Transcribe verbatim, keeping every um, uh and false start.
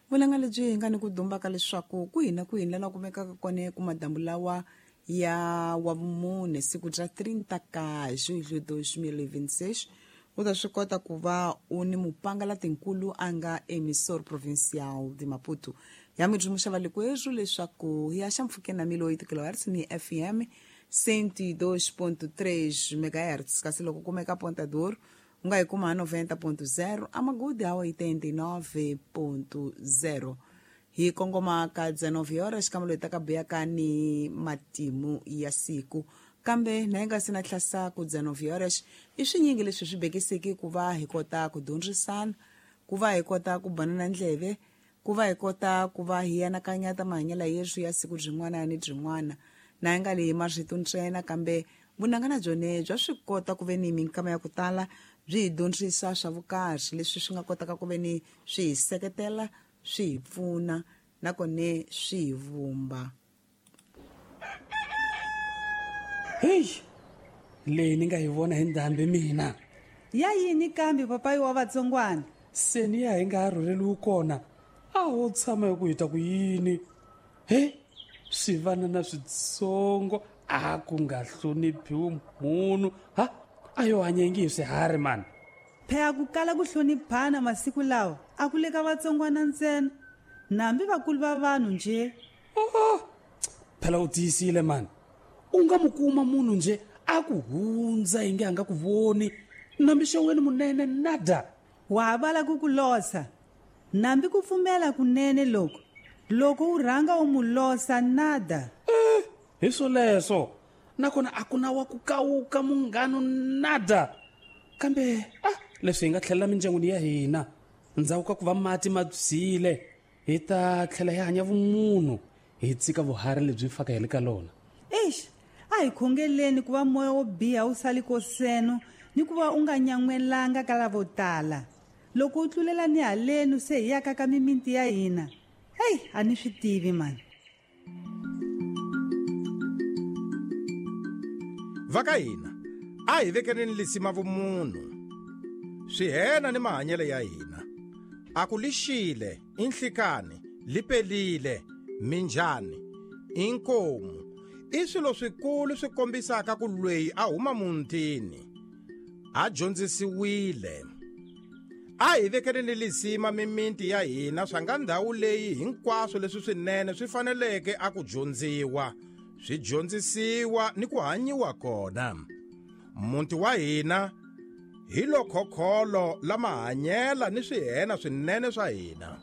Vunanga lebyi hi nga ni ku dumbaka leswaku kwihi na kwihi lana kumekaka kona ku madambu lawa ya wa vumune siku bya trinta ka julho dois mil e vinte e seis u ta swi kota ku va u ni mupangala tinkulu a nga emissor provincial de Maputo. Ya mi dzumuxa valikwerhu leswaku hi ya xa mpfhukeni na mil oito kilohertz ni F M cento e dois ponto três megahertz, kasi loko kumeka Ponta do Ouro u nga yi kuma noventa ponto zero, Amagudi a oitenta e nove ponto zero. Hi kongoma ka dezenove horas kambe loyi taka buyaka ni matimu ya siku. Kambe na yi nga si na tlhasa ku dezenove horas i swinyingi leswi swi bekiseki ku va hi kota ku dyondzisana, ku va hi kota ku banana ndleve, ku va hi kota ku va hi anakanya ta mahanyelo yesu ya siku byin'wana ni byin'wana. Na yi nga leyi marito ntsena kambe vunanga na byone bya swi kota ku ve ni minkama ya ku tala byi hi dyondzisa swa vukarhi leswi swi nga kotaka ku ve ni swi hi seketela, swi hi pfuna nakone swi hi vumba. Heyi, leyi ni nga yi vona hi ndhambi mina. Ya yini kambe papayi wa vatsongwana? Se ni ya hi nga ha rhurheliwi kona, a ho tshama hi ku hi ta ku yini? He, swivanana switsongo a ku nga hloniphiwi munhu. Ha, a yo hanya ngi hi swiharhi mani. Phela ku kala ku hloniphana masiku lawa a ku le ka vatsongwana ntsena, nambi vakulu va vanhu nje. Oh, phela u tiyisile mani. U nga mu kuma munhu nje a ku hundza yi nge a nga ku voni, nambi xeweni munene nada. Wa ha vala ku ku losa, nambi ku pfumela kunene loko loko u rhanga u mu losa nada. Eh, hi swoleswo nakona a ku na wa ku kawuka munghano nada. Kambe ah, leswi hi nga tlhelela mindyangwini ya hina ndzhaku ka ku va mati ma byile, hi ta tlhela hi hanya vumunhu, hi tshika vuharhi lebyi faka hi le ka lona. Eish, a hi khongeleni ku va moya wo biha wu sali koseno ni ku va u nga nyan'welanga ka lavo tala. Loko u tlulela ni halenu se hi yaka ka mimiti ya hina, heyi, a ni swi tivi mani. Va ka hina a hi vekeleni lisima vumunhu, swihena ni mahanyelo ya hina. A ku lixile, i nhlikani, li pelile, minjhani, i nkomu, i swilo swikulu swi kombisaka ku lweyi a huma muntini, a dyondzisiwile. A hi vekeleni lisima mimiti ya hina swa nga ndhawu leyi hinkwaswo leswi swinene swi faneleke a ku dyondziwa, swi dyondzisiwa ni ku hanyiwa kona. Muti wa hina hi lo khokholo la mahanyela ni swihena swinene swa hina.